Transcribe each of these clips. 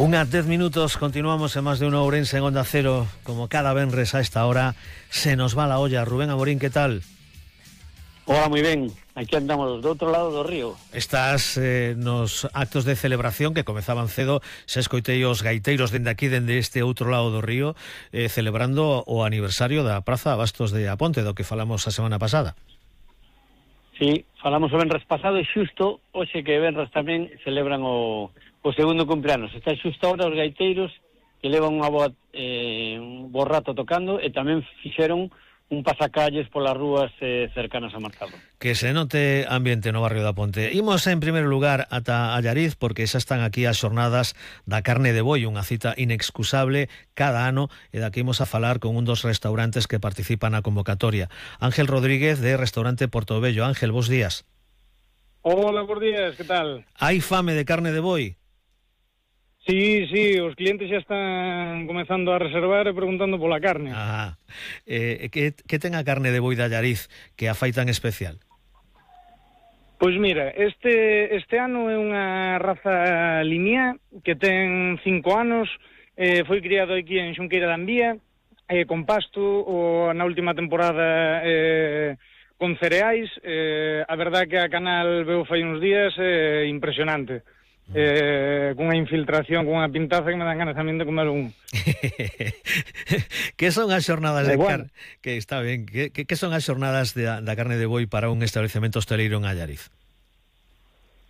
Unha 10 minutos, continuamos en Más de Uno Ourense en Onda Cero. Como cada venres a esta hora, se nos va la olla. Rubén Amorín, ¿qué tal? Hola, moi ben. Aquí andamos do outro lado do río. Estás nos actos de celebración que comezaban cedo. Se escoitei os gaiteiros dende aquí, dende este outro lado do río, celebrando o aniversario da Praza Abastos de Aponte, do que falamos a semana pasada. Sí, falamos o venres pasado e xusto hoxe que venres tamén celebran o segundo cumpleanos. Está xusto ahora os gaiteiros que levan un bo rato tocando e tamén fixeron un pasacalles polas rúas cercanas a Marcado. Que se note ambiente no barrio da Ponte. Imos en primeiro lugar ata Allariz, porque xa están aquí as xornadas da carne de boi, unha cita inexcusable cada ano, e daqui imos a falar con un dos restaurantes que participan na convocatoria. Ángel Rodríguez, de Restaurante Portobello. Ángel, bos días. Hola, bos días, que tal? Hai fame de carne de boi? Sí, os clientes xa están comezando a reservar e preguntando pola carne. Que ten a carne de boi de Allariz que a fai tan especial? Pois mira, este ano é unha raza lineá que ten 5 anos, foi criado aquí en Xunqueira da Envía, con pasto, na última temporada con cereais. A verdad que a canal veu fai uns días impresionante. Cunha infiltración, cunha pintaza que me dan ganas tamén de comer un. Que son as xornadas de carne? Que está ben. Que son as xornadas da carne de boi para un establecemento hosteleiro en Allariz?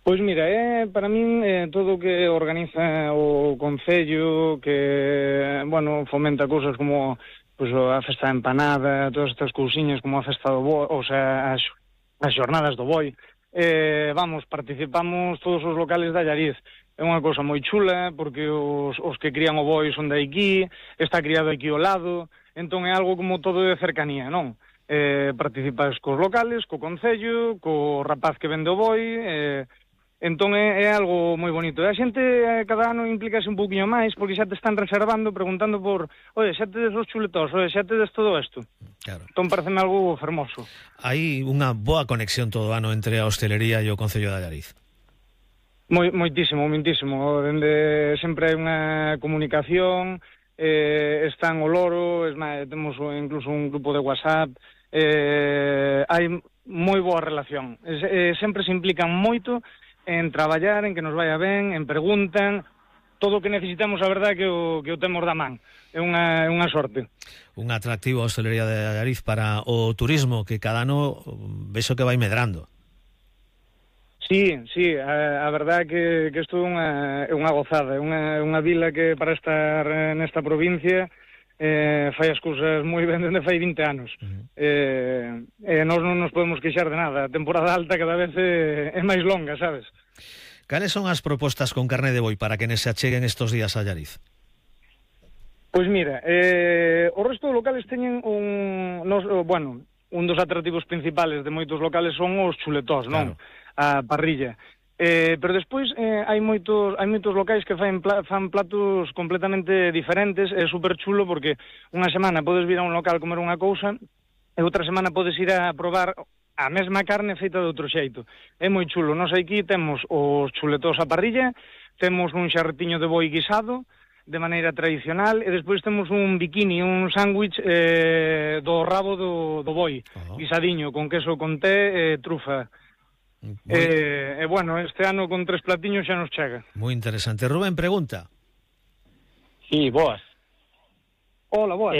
Pois mira, para min todo o que organiza o Concello, que, fomenta cousas como a festa da empanada, todas estas cousiñas como a festa do boi, o sea, as xornadas do boi. Participamos todos os locales de Allariz. É unha cousa moi chula, porque os que crían o boi son de aquí, está criado aquí ao lado, entón é algo como todo de cercanía, non? Participas cos locales, co concello, co rapaz que vende o boi, entón é algo moi bonito. A xente cada ano implícase un pouquinho máis, porque xa te están reservando, preguntando por, xa tedes os chuletós, xa tedes todo isto. Claro. Entón pareceme algo fermoso. Hai unha boa conexión todo o ano entre a hostelería e o Concello de Allariz. Moitísimo. Dende sempre hai unha comunicación, están o loro, temos incluso un grupo de WhatsApp, hai moi boa relación. Sempre se implican moito en traballar, en que nos vaya ben, en preguntan, todo o que necesitamos, a verdade, que o temos da man. É unha sorte. Un atractivo a hostelería de Allariz para o turismo, que cada ano vexo que vai medrando. Sí, a verdade que isto é unha gozada, é unha vila que para estar nesta provincia fai as cousas moi ben dende fai 20 anos. Nós non nos podemos queixar de nada. A temporada alta cada vez é máis longa, sabes? Cales son as propostas con carne de boi para que se acheguen estos días a Allariz? Pois mira, o resto de locales teñen un dos atractivos principales de moitos locales son os chuletós, non? Claro. A parrilla. Pero despois hai moitos locais que fan platos completamente diferentes. É super chulo porque unha semana podes vir a un local comer unha cousa e outra semana podes ir a probar a mesma carne feita de outro xeito. É moi chulo. Nós aquí temos os chuletós a parrilla, temos un xarretiño de boi guisado de maneira tradicional e despois temos un bikini, un sándwich do rabo do boi, guisadiño, con queso con té e trufa. Este ano con 3 platiños xa nos chega. Moi interesante. Rubén, pregunta. Sí, boas. Hola, boas.